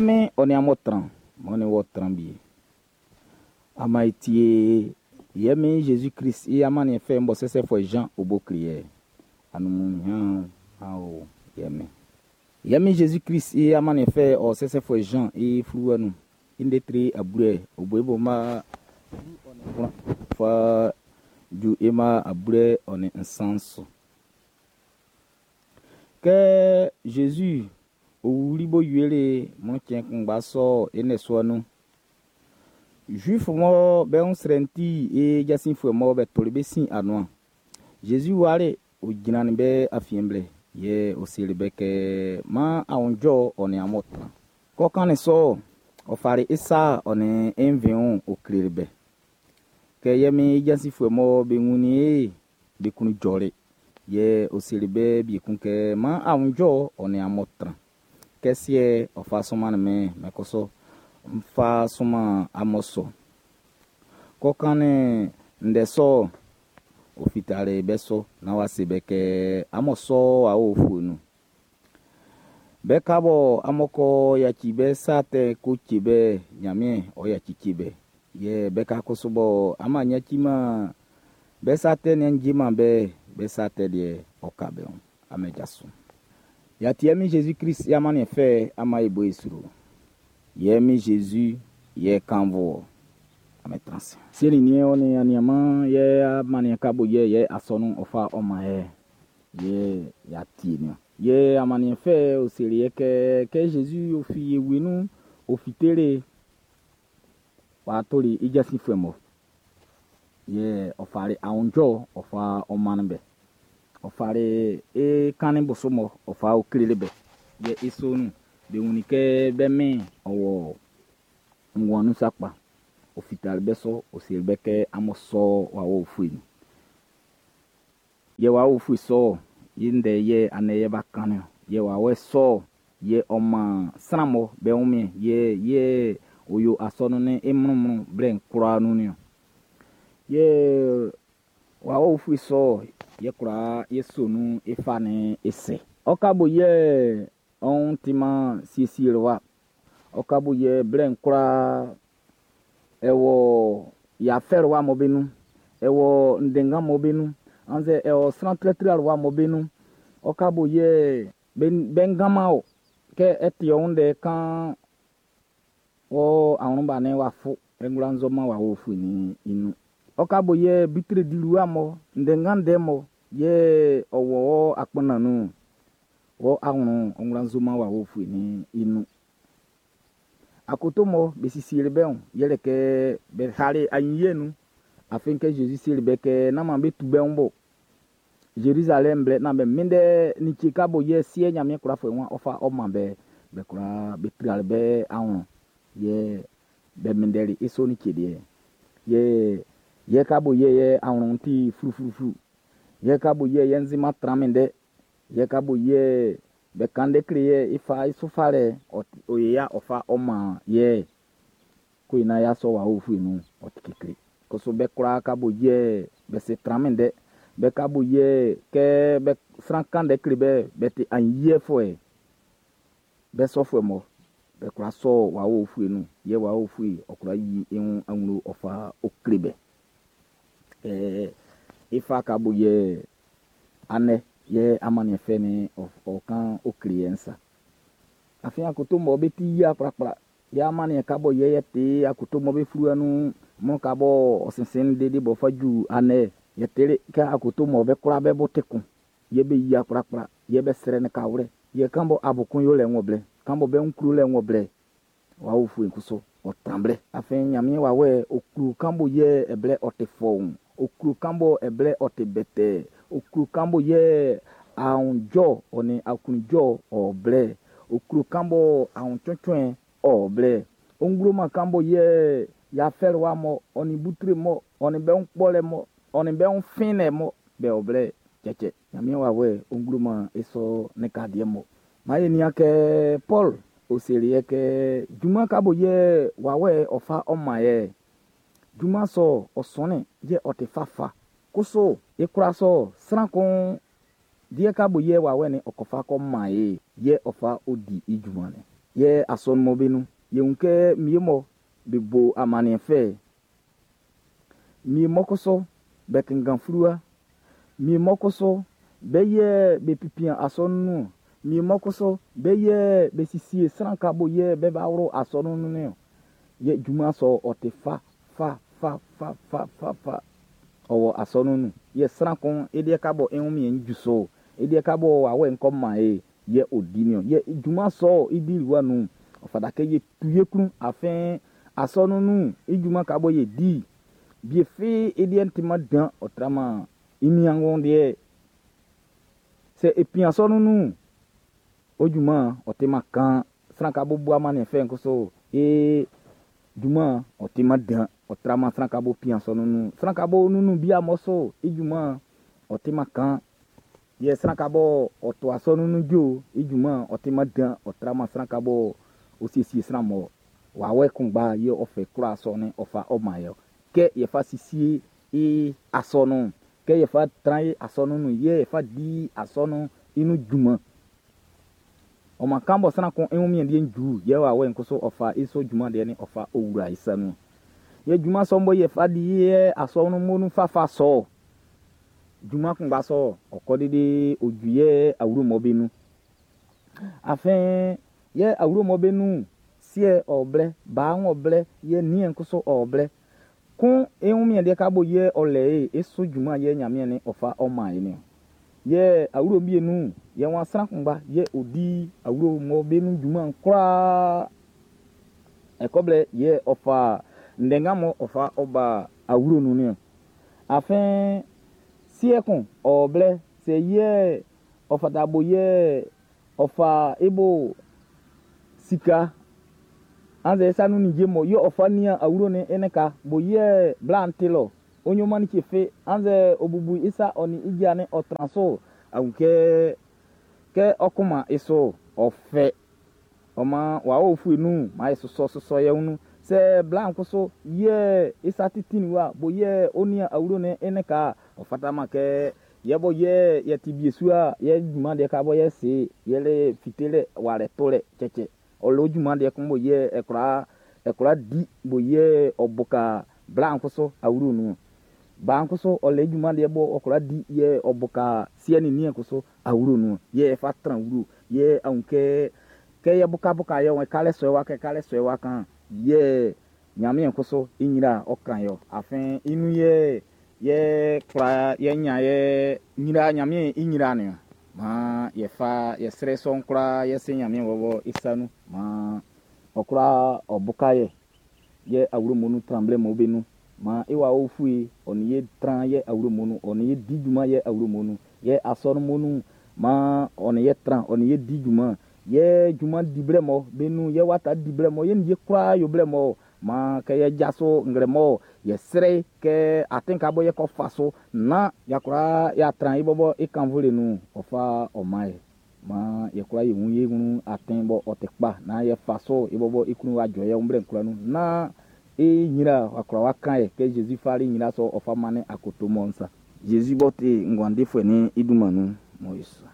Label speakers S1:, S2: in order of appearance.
S1: Min ɔ nin amun tran, m'ɔ nin wɔ tran wie. Ama e tie yɛ min Jésus Christ i amanniɛn fɛ'n bɔ sɛsɛfuɛ Jean o bo kle yɛ. Anumunyan o yɛ min. Yɛ min Jésus Christ i amanniɛn fɛ ɔ sɛsɛfuɛ Jean i fluwa nun. I ndɛ tre abue o bo i bo ma fa ju i ma abue ɔ nin nsan su. Kɛ Jésus o wuli bo wiele mɔ cɛn kunngba sɔ i nɛ sua nun. Juif mɔ be wun srɛ'n ti i jasinfuɛ mɔ be toli be sin anuan. Jésus wale o jrannin be afiɛn blɛ yɛ o seli be kɛ man awunjɔ ɔ nin amun tran. Kɔ kan ne sɔ ɔ fari i sa ɔ nin i nvɛnw o kleli be. Kɛ yɛ min i jasinfuɛ mɔ be wunnin i be kun jɔli yɛ o seli be bi kun kɛ man awunjɔ ɔ nin amun tran. Kɛ siɛ ɔ fa sunman min mɛ kɔsɔ n fa sunman amun sɔ. Kɔ kan ne ndɛ sɔ o fitale bɛ sɔ na wa se bɛ kɛ amun sɔ awo fu nu. Bɛ ka bɔ amun kɔ yaci bɛ sa tɛ ko tse bɛ Ɲanmiɛn ɔ yaci tse bɛ. Yɛ bɛ ka koso bɔ ama yaci ma bɛ sa tɛ ne dzi ma bɛ bɛ sa tɛ deɛ ɔ ka bɛ o. Ame dza so. Yati mi Jésus Christ ya mani fɛ ama ebo esro. Yɛ mi Jésus yɛ kanvo. Ame transe. Seli ni o ni aniama yɛ amani kabo yɛ yɛ asɔnu ɔfa ɔma yɛ yɛ yati ni. Yɛ amani fɛ o seli yɛ kɛ kɛ Jésus o fi ewenu o fitere wa tori ijasi fɛmɔ. Yɛ ɔfari awunjɔ ɔfa ɔmani bɛ. Ɔfari e kani bosomɔ ɔfa okelele bɛ. Yɛ esonu be wuni kɛ bɛ mɛ ɔwɔ ŋwɔnu sakpa. Ofitali bɛ sɔ oseli bɛ kɛ amɔ sɔ wa wo fue nu. Yɛ wa wo fue sɔ ye ndɛ yɛ anɛ yɛ ba kan o. Yɛ wa wɛ sɔ yɛ ɔma sranmɔ bɛ wumi yɛ yɛ oyo asɔnu ne emrumru blɛ nkura nu ni o. Yɛ wa wo fue sɔ yɛ kura yɛ sonu efa ne ese. Ɔkabo yɛ ɔn tima siesie wa. Ɔkabo yɛ blɛ nkura ɛwɔ yafɛrɛ wa mɔ benu. Ɛwɔ ndenga mɔ benu. Anze ɛwɔ sran trɛtrɛ wa mɔ benu. Ɔkabo yɛ bengama o. Kɛ ɛti ɔn kan wɔ awon ne wa fo. Engula nzɔma wa wo fu ni inu. Ɔkabo yɛ bitire dilu wa mɔ ndenga ndɛ mɔ yɛ ɔwɔ akpɔna nu. Wɔ awon ɔngula nzɔma wa wo fu ni inu. Akoto mɔ be sisi le bɛ o yɛlɛ kɛ bɛ hale anyi nu. Afin kɛ Jésus seli bɛ kɛ n'a ma be tu bɛ ń bɔ. Jérusalem blɛ na bɛ minde ni tsi ka bo yɛ sie nyame kura fo wa ɔfa ɔma bɛ bɛ kura bɛ trial bɛ awon yɛ bɛ mindɛli eso ni tsi deɛ. Yɛ yɛ ka bo yɛ yɛ awon ti flufluflu. Yɛ ka bo yɛ yɛ nzima traminde. Yɛ ka bo yɛ bɛ kande kle yɛ ifa isofa lɛ oye ya ɔfa ɔma yɛ ko ina ya sɔ wa ofu nu ɔti kekle. Koso bɛ kura ka bo yɛ bɛ se traminde. Bɛ ka bo yɛ kɛ bɛ sran kande kle bɛ bɛ te anyi yɛ fɔ yɛ. Bɛ sɔ fɔ mɔ bɛ kura sɔ wa ofu nu yɛ wa ofu ɔkura yi ehun aŋlo ɔfa okle bɛ. Ifa ka bo yɛ anɛ yɛ amani fɛ ni ɔkan okle yɛ nsa. Afi akoto mɔ bɛ ti yia kplakpla. Yɛ amani ka bɔ yɛ yɛ te akoto mɔ bɛ furu ɛnu mɔ ka bɔ ɔsɛnsɛn dede bɔ fa ju anɛ yɛ tere kɛ akoto mɔ bɛ kura bɛ bɔ te kun. Yɛ bɛ yia kplakpla. Yɛ bɛ srɛ ne ka wlɛ. Yɛ kan bɔ abukun yɔ lɛ ŋɔ blɛ. Kan bɔ bɛ ŋkuru lɛ ŋɔ blɛ. Wa wo fu nkuso ɔtran blɛ. Afi nyamie wa wɛ okuru kan bɔ yɛ ɛblɛ ɔte fɔn. Okuru kan bɔ ɛblɛ ɔte bɛtɛ. Okuru kan bɔ yɛ ahunjɔ ɔni akunjɔ ɔblɛ. Okuru kan bɔ ahuntsɔtsɔɛ ɔblɛ. Onguroma kan bɔ yɛ yafɛrɛ wa mɔ ɔni butre mɔ ɔni bɛ ŋkpɔlɛ mɔ ɔni bɛ ŋfinɛ mɔ bɛ ɔblɛ tsɛtsɛ. Nyamie wa wɛ onguroma esɔ ne ka diɛ mɔ. Maa ye nia kɛ Paul oseli yɛ kɛ juma ka bo yɛ wa wɛ ɔfa ɔma yɛ. Juma sɔ ɔsɔnɛ yɛ ɔte fafa. Koso ekura sɔ sran kun diɛ ka bo yɛ wa wɛ ni ɔkɔfa kɔ ma ye yɛ ɔfa odi ijuma nɛ. Yɛ asɔnun mɔ be nun, yɛ wun kɛ wie mɔ be bo amanniɛn fɛ. Wie mɔ kusu be kanngan fluwa. Wie mɔ kusu be yɛ be pipian asɔnun nun. Wie mɔ kusu be yɛ be siesie sran ka bo yɛ be ba wlu asɔnun nun niɔn. Yɛ junman sɔ'n ɔ ti fa fa fa fa fa fa fa ɔ wɔ asɔnun nun. Yɛ sran kun i deɛ ka bɔ i wunmiɛn'n ju so, i deɛ ka bɔ wawɛ'n kɔ man e yɛ ɔ di niɔn. Yɛ junman sɔ'n i diliwa nun'n, ɔ fata kɛ ye tu ye klun afin asɔnun nun i junman ka bɔ ye di bie fi i deɛ timan dan ɔ traman i niangun deɛ. Sɛ e pin asɔnun nun'n, o junman ɔ timan kan sran ka bo bu amanniɛn fɛ'n kusu e junman ɔ timan dan ɔ traman sran ka bo pin asɔnun nun. Sran ka bo nunun bia mɔ so i junman ɔ timan kan. Yɛ sran ka bɔ ɔ to asɔnun nun jo i junman ɔ timan dan ɔ traman sran ka bɔ ɔ siesie sran mɔ wawɛ kunngba yɛ ɔ fɛ kwlaa sɔ'n ɔ fa ɔ man yɛ. Kɛ yɛ fa siesie i asɔnun, kɛ yɛ fa tran i asɔnun nun, yɛ yɛ fa di asɔnun i nun junman. Ɔ man kan bɔ sran kun i wunmiɛn deɛ ju, yɛ wawɛ'n kusu ɔ fa i so junman deɛ ni ɔ fa owura i sa nun. Yɛ junman sɔ'n bɔ yɛ fa di yɛ asɔnun mu nun fafa sɔ. Junman kunngba sɔ, ɔ kɔ dede oju yɛ awuro mɔ be nun. Afin yɛ awuro mɔ be nun, siɛ ɔ blɛ, baa ɔ blɛ, yɛ niɛn kusu ɔ blɛ. Kun i wunmiɛn deɛ ka bo yɛ ɔ lɛ e, e so junman yɛ Nyanmiɛn ni ɔ fa ɔ man e ni. Yɛ awuro bie nun, yɛ wan sran kunngba yɛ ɔ di awuro mɔ be nun junman kwlaa. Ɛkɔ blɛ yɛ ɔ fa ndɛngan mɔ ɔ fa ɔ ba awuro nun ni. Afin siɛ kun ɔ blɛ sɛ yɛ ɔ fata bo yɛ ɔ fa e bo sika annzɛ sa nun nije mɔ yɛ ɔ fa nian awuro ni e ne ka bo yɛ bla'n ti lɔ onyoma ni tse annzɛ obubu isa ɔ ni ija ni ɔ tran so awu kɛ kɛ ɔkuma eso ɔfɛ ɔma wa o fue nu ma e sɔsɔ sɔsɔ yɛ unu sɛ bla'n kusu yɛ isa titi wa bo yɛ onia awuro ni e ne ka ɔ fata ma kɛ yɛ bɔ yɛ yɛ ti bie sua yɛ junman deɛ ka bɔ yɛ se yɛ le fitele wa lɛ to lɛ tsɛtsɛ ɔlɔ junman deɛ kun bo yɛ ɛkura ɛkura di bo yɛ ɔboka bla'n kusu awuro nu ba'n kusu ɔlɛ junman deɛ bɔ ɔkura di yɛ ɔboka siɛ ni niɛ kusu awuro nu yɛ ɛfa tran wuro yɛ ahun kɛ kɛ yɛ bukabuka yɛ wɔn kalɛ sɔɛ wa kɛ kalɛ sɔɛ wa kan yɛ Nyanmiɛn kusu i nyira ɔkan yɔ afin inu yɛ yɛ kura yɛ nya yɛ nyira Nyanmiɛn i nyira ni ma yɛ fa yɛ srɛ sɔn kura yɛ se Nyanmiɛn bɔbɔ i sa nu ma ɔkura ɔbuka yɛ yɛ awuro mu nu tran blɛ mo be nu ma i wa o fue ɔni yɛ tran yɛ awuro mu nu ɔni yɛ di dwuma yɛ awuro mu nu yɛ asɔre mu nu ma ɔni yɛ tran ɔni yɛ di dwuma yɛ dwuma di blɛ mɔ be nu yɛ wata di blɛ mɔ yɛ ni yɛ kura yo blɛ mɔ ma kɛ yɛ jaso nglɛ mɔ yɛ srɛ kɛ aten ka bɔ yɛ kɔ fa so na yakura yɛ atran yi bɔbɔ i kanvo le nu ɔfa ɔma yɛ ma yɛ kura yɛ ŋu yɛ ŋu aten bɔ ɔtɛ kpa na yɛ fa so i bɔbɔ i kunu wa dzɔ yɛ ŋu kura nu na e nyira wakura wa kan yɛ kɛ Jesu fali nyira sɔ ɔfa mane akoto mɔ nsa Jesu bɔ te nguandefuɛ ni iduma nu mɔ yesu.